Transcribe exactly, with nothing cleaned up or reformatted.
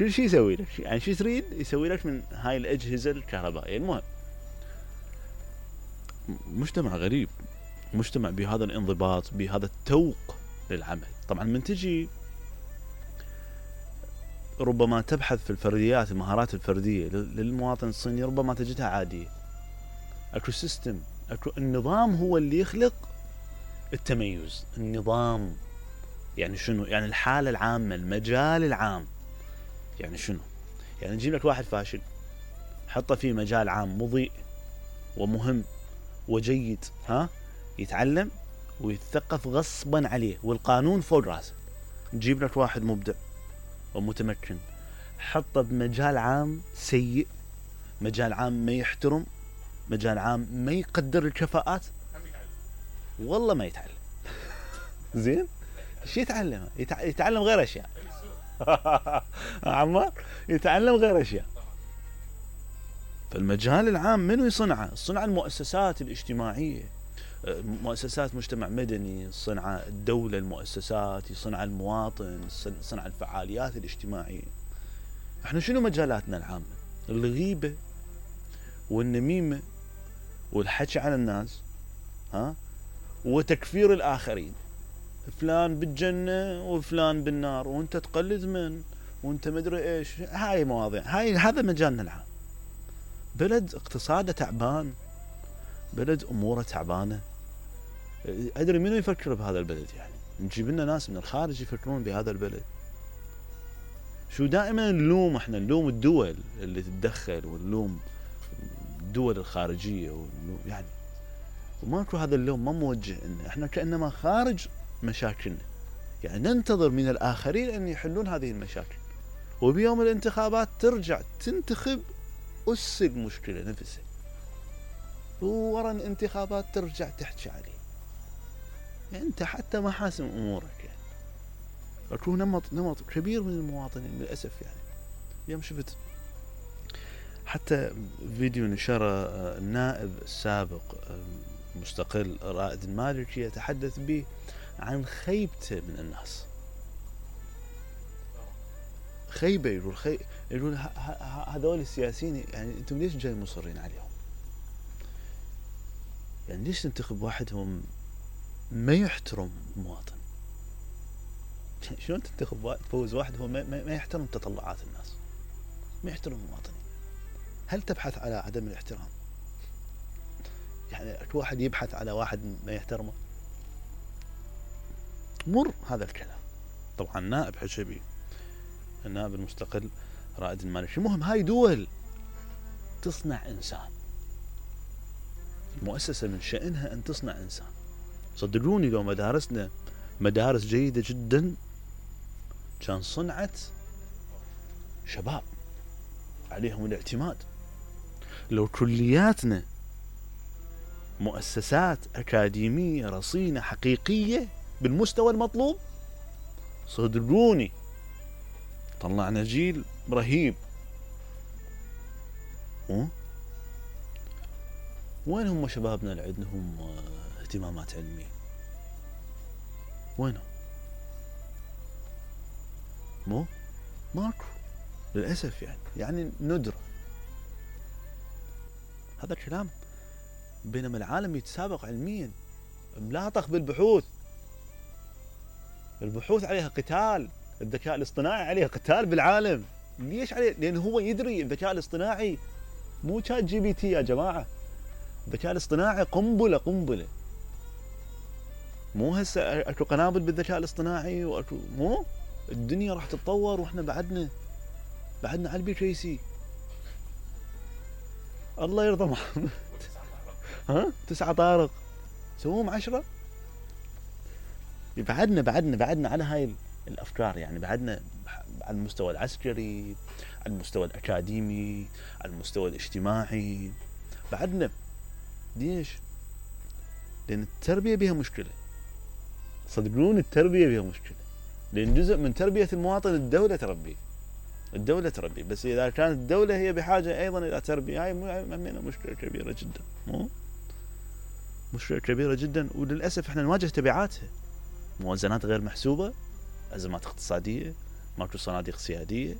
كل شيء يسوي لك، يعني شو تريد يسوي لك من هاي الأجهزة الكهربائية. المهم مجتمع غريب، مجتمع بهذا الانضباط، بهذا التوق للعمل. طبعا من تجي ربما تبحث في الفرديات، المهارات الفردية للمواطن الصيني، ربما تجدها عادية. اكو سيستم، اكو النظام هو اللي يخلق التميز. النظام يعني شنو؟ يعني الحالة العامة، المجال العام. يعني شنو؟ يعني نجيب لك واحد فاشل حطه في مجال عام مضيء ومهم وجيد، ها، يتعلم ويتثقف غصبا عليه والقانون فوق راسه. نجيب لك واحد مبدع ومتمكن حطه بمجال عام سيء، مجال عام ما يحترم، مجال عام ما يقدر الكفاءات، والله ما يتعلم. زين، شو يتعلم؟ يتع... يتعلم غير اشياء. عمار يتعلم غير اشياء. فالمجال العام منو يصنعه؟ صنع المؤسسات الاجتماعية، مؤسسات مجتمع مدني، صنع الدولة، المؤسسات، يصنع المواطن، صنع الفعاليات الاجتماعية. احنا شنو مجالاتنا العامة؟ الغيبة والنميمة والحكي على الناس، ها، وتكفير الآخرين. فلان بالجنة وفلان بالنار، وانت تقلد من، وانت مدري ايش. هاي مواضيع، هاي هذا مجالنا العام. بلد اقتصاده تعبان، بلد اموره تعبانه. ادري منو يفكر بهذا البلد؟ يعني نجيب لنا ناس من الخارج يفكرون بهذا البلد. شو دائما نلوم؟ احنا نلوم الدول اللي تتدخل، ونلوم الدول الخارجيه، ونلوم يعني، وماكو هذا اللوم ما موجه لنا. احنا كانما خارج مشاكلنا، يعني ننتظر من الاخرين ان يحلون هذه المشاكل، وبيوم الانتخابات ترجع تنتخب أس المشكلة نفسها، وورا الانتخابات ترجع تحكي عليه. يعني أنت حتى ما حاسم أمورك. يعني أكو نمط نمط كبير من المواطنين للأسف. يعني اليوم شفت حتى فيديو نشره النائب السابق مستقل رائد المالكي يتحدث به عن خيبته من الناس. خيبة، يقول خي... يقول هذول السياسيين، يعني انتم ليش جاي مصرين عليهم؟ يعني ليش تنتخب واحد هم ما يحترم المواطن؟ شلون تنتخب واحد، تفوز واحد هو ما, ما يحترم تطلعات الناس، ما يحترم المواطنين؟ هل تبحث على عدم الاحترام؟ يعني اكو واحد يبحث على واحد ما يحترمه؟ مر هذا الكلام. طبعا نائب حشبي، النائب المستقل رائد المالكي. المهم هاي دول تصنع إنسان، المؤسسة من شأنها أن تصنع إنسان. صدقوني لو مدارسنا مدارس جيدة جدا كان صنعت شباب عليهم الاعتماد. لو كلياتنا مؤسسات أكاديمية رصينة حقيقية بالمستوى المطلوب، صدقوني طلعنا جيل رهيب. أه؟ وين هم شبابنا اللي عندهم اهتمامات علمية؟ وينهم؟ مو ماكو للأسف. يعني يعني ندرة هذا الكلام. بينما العالم يتسابق علميا، ملاطخ بالبحوث، البحوث عليها قتال، الذكاء الاصطناعي عليه قتال بالعالم. ليش عليه؟ لأنه هو يدري الذكاء الاصطناعي مو شات جي بي تي يا جماعة. الذكاء الاصطناعي قنبلة قنبلة. مو هسه اكو قنابل بالذكاء الاصطناعي، واكو مو الدنيا راح تتطور، واحنا بعدنا بعدنا على البي كي سي. الله يرضى محمد. ها تسعة طارق سووهم عشرة. بعدنا بعدنا بعدنا على هاي الافكار. يعني بعدنا على المستوى العسكري، على المستوى الاكاديمي، على المستوى الاجتماعي بعدنا. ليش؟ لان التربيه بها مشكله. صدقون التربيه بها مشكله، لان جزء من تربيه المواطن الدوله تربيه، الدوله تربيه. بس اذا كانت الدوله هي بحاجه ايضا الى تربيه، هاي مشكله كبيره جدا. مو مشكله كبيره جدا، وللاسف احنا نواجه تبعاتها. موازنات غير محسوبه، ازمات اقتصاديه، ماكو صناديق سياديه،